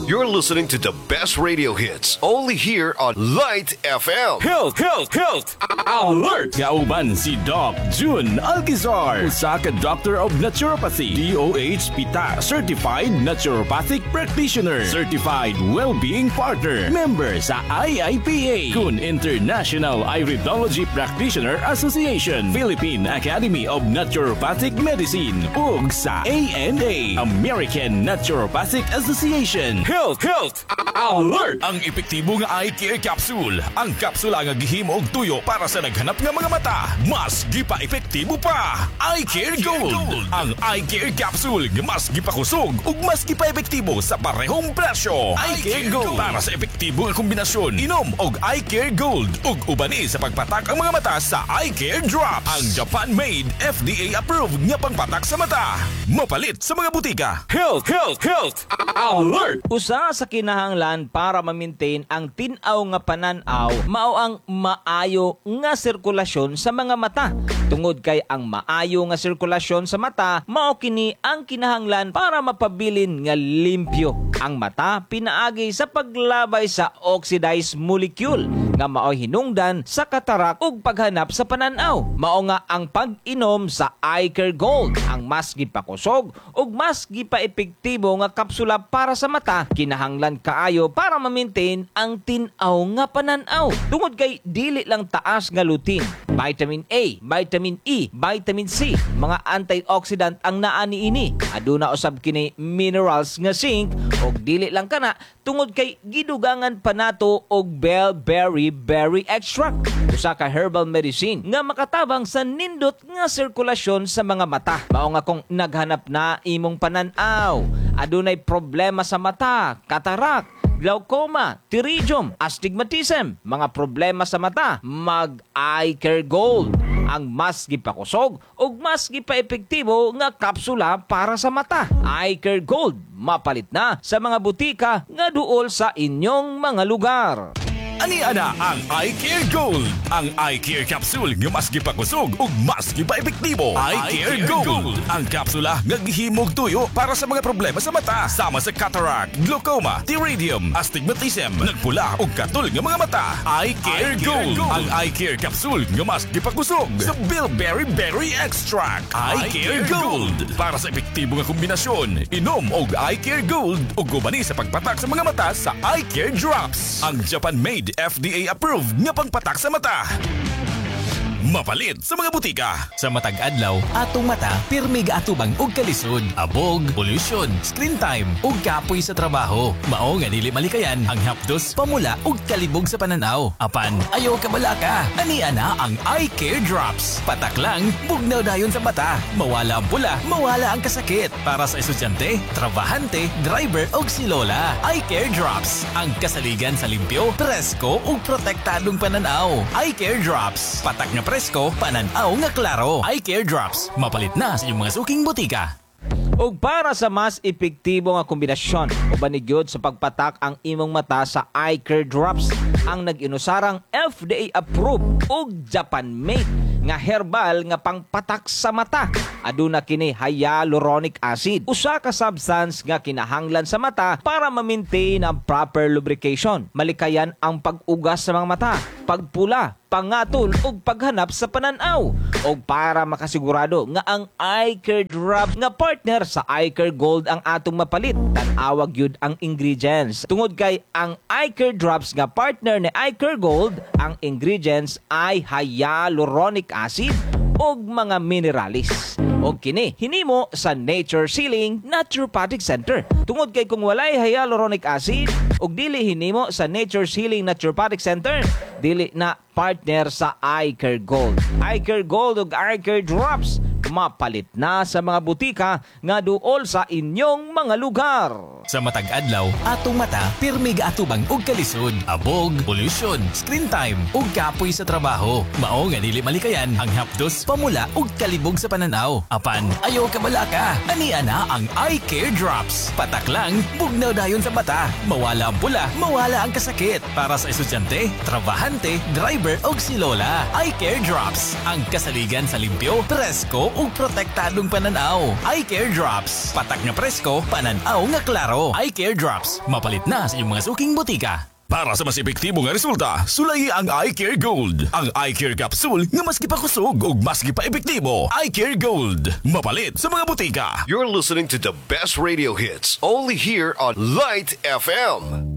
You're listening to the best radio hits only here on Light FM. Health, health, health! Alert! Kauban si Doc June Alcazar, usa ka Doctor of Naturopathy, DOH PITA, Certified Naturopathic Practitioner, Certified Well-Being Partner, member sa IIPA, kun International Iridology Practitioner Association, Philippine Academy of Naturopathic Medicine, ug sa ANA, American Naturopathic Association. Health, health, alert! Ang epektibo nga eye care capsule. Ang kapsula nga gihimo og tuyo para sa naghanap nga mga mata. Mas gipa-epektibo pa. Eye Care Gold. Ang eye care capsule nga mas gipakusog ug mas gipa-epektibo sa parehong presyo. Eye Care Gold. Para sa epektibo nga kombinasyon, inom og Eye Care Gold ug ubani sa pagpatak ang mga mata sa Eye Care Drops. Ang Japan-made, FDA approved nga pangpatak sa mata. Mapalit sa mga butika. Health, health, health! Alert! Usa sa kinahanglan para ma-maintain ang tin-aw nga panan-aw mao ang maayo nga sirkulasyon sa mga mata. Tungod kay ang maayo nga sirkulasyon sa mata mao kini ang kinahanglan para mapabilin nga limpyo ang mata pinaagi sa paglabay sa oxidized molecule nga mao'y hinungdan sa katarak ug paghanap sa pananaw. Mao nga ang pag-inom sa Eye Care Gold, ang mas gipakusog ug mas gipaepektibo nga kapsula para sa mata, kinahanglan kaayo para ma-maintain ang tin-aw nga pananaw. Tungod kay dili lang taas nga lutein, vitamin A, vitamin E, vitamin C, mga antioxidant ang naa niini. Aduna usab kini minerals nga zinc, ug dili lang kana, tungod kay gidugangan pa nato og bilberry berry extract, usa ka herbal medicine nga makatabang sa nindot nga sirkulasyon sa mga mata. Mao nga kung naghanap na imong panan-aw, adunay problema sa mata, katarak, glaucoma, pterygium, astigmatism, mga problema sa mata, mag Eye Care Gold, ang mas gipakusog ug mas gipaepektibo nga kapsula para sa mata. Eye Care Gold, mapalit na sa mga butika nga duol sa inyong mga lugar. Ani ana ang Eye Care Gold. Ang Eye Care Capsule nga mas gipakusog ug mas gipaepektibo. Eye Care Gold. Ang kapsula nga gihimog tuyo para sa mga problema sa mata, sama sa cataract, glaucoma, pterygium, astigmatism, nagpula ug katol nga mga mata. Eye Care Gold. Ang Eye Care Capsule nga mas gipakusog sa bilberry berry extract. Eye Care Gold. Para sa epektibo nga kombinasyon, inom og Eye Care Gold ug ubani sa pagpatak sa mga mata sa Eye Care Drops. Ang Japan-made, FDA approved nga pangpatak sa mata. Mapalit sa mga butika. Sa matag adlaw, atong mata pirmi gaatubang og kalisod, abog, pollution, screen time ug kapoy sa trabaho. Mao nga dili malikayan ang hapdos, pamula ug kalibog sa pananaw. Apan ayaw kabalaka. Ani ana ang Eye Care Drops. Patak lang, bugnaw dayon sa mata. Mawala ang pula, mawala ang kasakit. Para sa estudyante, trabahante, driver ug si lola. Eye Care Drops, ang kasaligan sa limpyo, presko ug protektadong pananaw. Eye Care Drops. Patak nga presko, pananaw nga klaro. Eye Care Drops. Mapalit na sa inyong mga suking butika. Ug para sa mas epektibo nga kombinasyon, uban gyud sa pagpatak ang imong mata sa Eye Care Drops, ang nag-inusarang FDA approved ug Japan made nga herbal nga pangpatak sa mata. Aduna kini hyaluronic acid, usa ka substance nga kinahanglan sa mata para ma-maintain ang proper lubrication. Malikayan ang pag-ugas sa mga mata, pagpula, pangatol ug paghanap sa pananaw. Og para makasigurado nga ang Eye Care Drop nga partner sa Eye Care Gold ang atong mapalit, tan-awa gyud ang ingredients. Tungod kay ang Eye Care Drops nga partner ni Eye Care Gold, ang ingredients ay hyaluronic acid ug mga mineralis. Og kini hinimo sa Nature Sealing Naturopathic Center. Tungod kay kung walay hyaluronic acid ug dili hinimo sa Nature Sealing Naturopathic Center, dili na partner sa Eye Care Gold. Eye Care Gold ug Eye Care Drops, mapalit na sa mga butika nga duol sa inyong mga lugar. Sa matag adlaw, atong mata pirmi gaatubang og kalisod, abog, pollution, screen time ug kapoy sa trabaho. Mao nga dili malikayan ang hapdos, pamula ug kalibog sa pananaw. Apan ayaw kabalaka. Ani ana ang Eye Care Drops. Patak lang, bugnaw dayon sa mata. Mawala ang pula, mawala ang kasakit. Para sa estudyante, trabahante, driver ug si lola. Eye Care Drops, ang kasaligan sa limpyo, presko ug ug protektadong pananaw. Eye Care Drops. Patak nga presko, pananaw nga klaro. Eye Care Drops. Mapalit na sa inyong mga suking botika. Para sa mas epektibo nga resulta, sulayi ang Eye Care Gold. Ang Eye Care Capsule nga mas gipakusog ug mas gipa-epektibo. Eye Care Gold. Mapalit sa mga botika. You're listening to the best radio hits only here on Light FM.